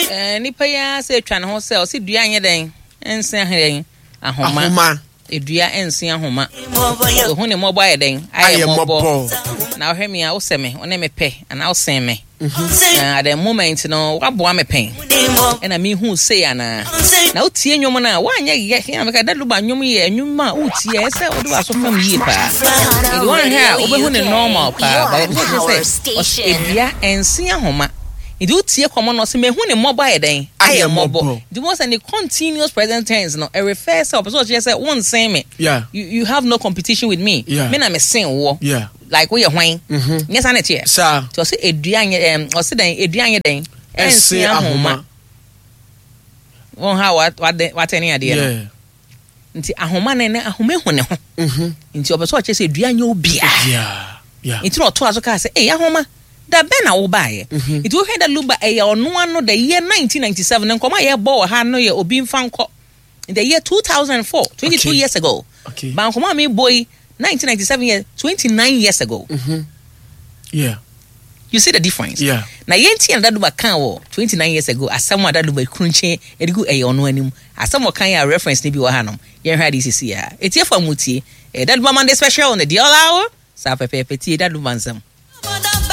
Eh, nipa yi ara sɛ atwa ne ho sɛ ɔse dua nyɛ dɛn nse ahɛn ahoma. Ahoma. Edua nse ahoma. Ohu ne mmɔbɔ ayɛ dɛn ayɛ mmɔbɔ. Na ɔhwɛ me a wosɛ me, wo ne me pɛ anaa wosen me. Na at the moment no waboa me pɛn. Ɛna mehu sei anaa. Na wotie nnwom no a woanyɛ yɛ yɛn meka Daddy Lumba nnwom yɛ nnwom a wotie ɛsɛ sɛ wode w'aso fam yie paa. Nti woanhwɛ a wobɛhu ne normal paa. But ɔsɛ sɛ edua nse ahoma. Nti wotie kɔmɔ no ɔse mehu ne mmɔbɔ ayɛ dɛn? Ayɛ mmɔbɔ. Nti wohu sɛ ne continuous present tense no ɛrefer sɛ ɔpɛ sɛ ɔkyerɛ sɛ wonsen me. Yeah. You, you have no competition with me. Yeah. Me na mesen woɔ. Yeah. Like woyɛ hwan? Nyɛ saa na ɛteɛ? Saa. Nti ɔse edua nyɛ ɛm ɔse dɛn edua nyɛ dɛn? Ɛnsen ahoma. Wɔn ha watɛne adeɛ no. Yeah. Nti ahoma no ɛnɛ ahoma ehu ne ho. Nti ɔpɛ sɛ ɔkyerɛ sɛ dua nyɛ obiara. Yeah. Nti na ɔtoa so kaa sɛ, Ei ahoma, da bɛn na wobaeɛ? Nti wohwɛ Daddy Lumba ɛyɛ ɔno ano the year 1997 ne nkɔmmɔ a yɛbɔ wɔ ha no yɛ obi mfa nkɔ the year 2004, 22 Okay. years ago. Okay. Ba nkɔmmɔ a mebɔ yi 1997 yɛ 29 years ago. Yeah. You see the difference? Yeah. Na yɛn ti na Daddy Lumba kan wɔ 29 years ago asɛm a Daddy Lumba krunkye de gu ɛyɛ ɔno anim. Asɛm a ɔkan yɛ a reference no bi wɔ hanom. Yɛnhwɛ ade sisi a. Etiefo a mutie. Ɛyɛ Daddy Lumba Monday special on the Deal Hour. Saa pɛpɛɛpɛ tie Daddy Lumba nsɛm.